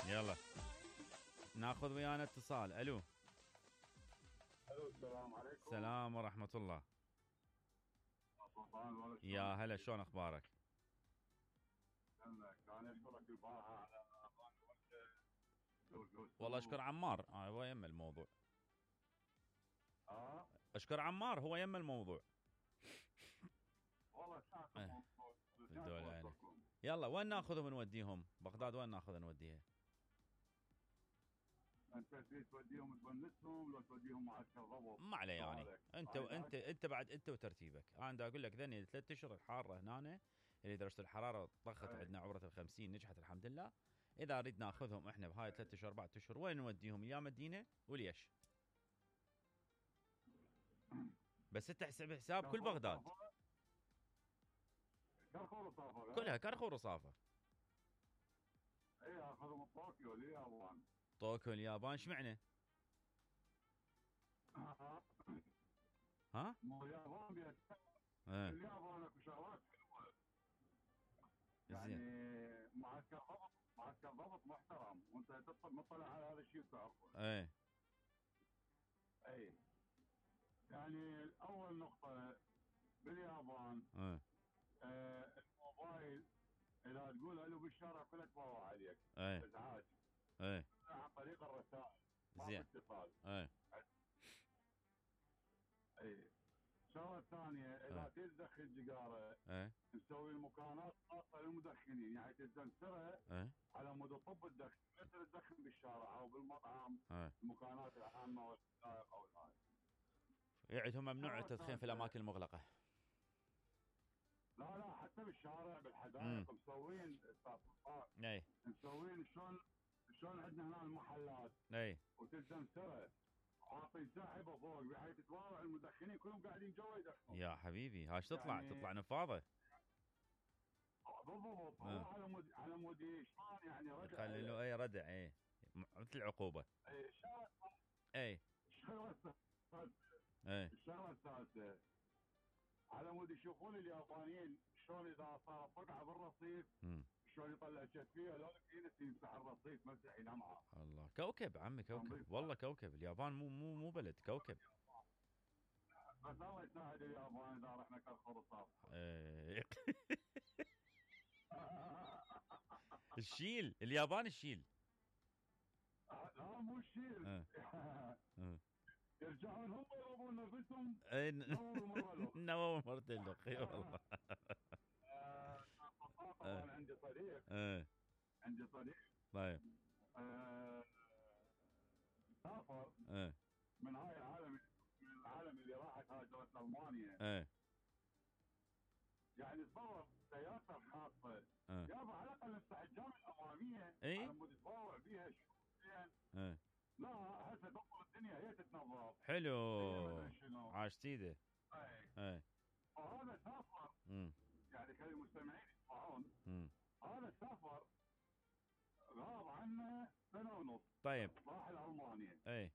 يلا ناخذ ويانا اتصال. الو السلام عليكم. السلام ورحمة الله. يا هلا، شلون اخبارك؟ انا اشكرك البارحه على والله اشكر عمار، هو يم الموضوع. اشكر عمار، هو يم الموضوع. والله يلا وين ناخذهم ونوديهم؟ بغداد وين ناخذ نوديها؟ انت توديهم تونسهم لو توديهم معسكر ضبط؟ ما عليه يعني. انت بعد انت وترتيبك. انا دا اقول لك ذني 3 اشهر الحاره هنا اللي درجه الحراره طخت عندنا عبره ال50 نجحت الحمد لله. اذا نريد ناخذهم احنا بهاي 3 اشهر 4 اشهر وين نوديهم؟ يا مدينه وليش؟ بس انت حساب كل بغداد كرخور وصافر كلها كرخور وصافر. اي اخذهم طوكيو اليابان. طوكيو اليابان اشمعنى؟ ها؟ مو اليابان اليابان اكو شغلات حلوه يعني. معسكر ضبط محترم وانت مطلع على هذا الشيء وتعرفه. اي يعني اول نقطه باليابان الموبايل اذا تقول الو بالشارع كله تباوع عليك ازعاج عن طريق الرسائل زين اتصال. اي الشغله الثانيه اذا تدخل سيجاره نسوي المكانات خاصه للمدخنين يعني تستنسرها على مود طب الدخن مثل تدخن بالشارع او بالمطعم المكانات العامه والسائق او الهاي. يعني هم ممنوع التدخين في الاماكن المغلقه؟ لا حتى بالشارع بالحدائق مسوين مسوين شلون عندنا هنا المحلات وتستنسرها حاطين ساحبه فوق بحيث تتواضع المدخنين كلهم قاعدين جوا يدخنون. يا حبيبي هاش تطلع يعني تطلع نفاضه بالضبط. هو على مود شلون يعني ردع يخلي له ردع مثل العقوبه. الشغله الثالثه على مود يشوفون اليابانيين شلون اذا صار فقعه بالرصيف شلون يطلع شفيه لو ينس يمسح الرصيف مسح ينمعه. الله كوكب عمي كوكب والله كوكب اليابان مو بلد كوكب. بس الله يساعد اليابان اذا رحنا كرخور الصافحه. الشيل اليابان الشيل. لا مو الشيل. يرجعون هم يضربون نفسهم. نووا مرتين لك اي والله. طبعا عندي صديق طيب سافر من هاي العالم اللي راحت هاجرت المانيا. يعني تصور سيارته الخاصه يابا على الاقل السحجام الاماميه على مود تطاوع بيها زين. لا هسه تنظر الدنيا هي تتنظف. حلو عاش سيده. فهذا سافر يعني خلي المستمعين يسمعون. هذا سافر غاب عنه 1.5 سنة. طيب راح لألمانيا.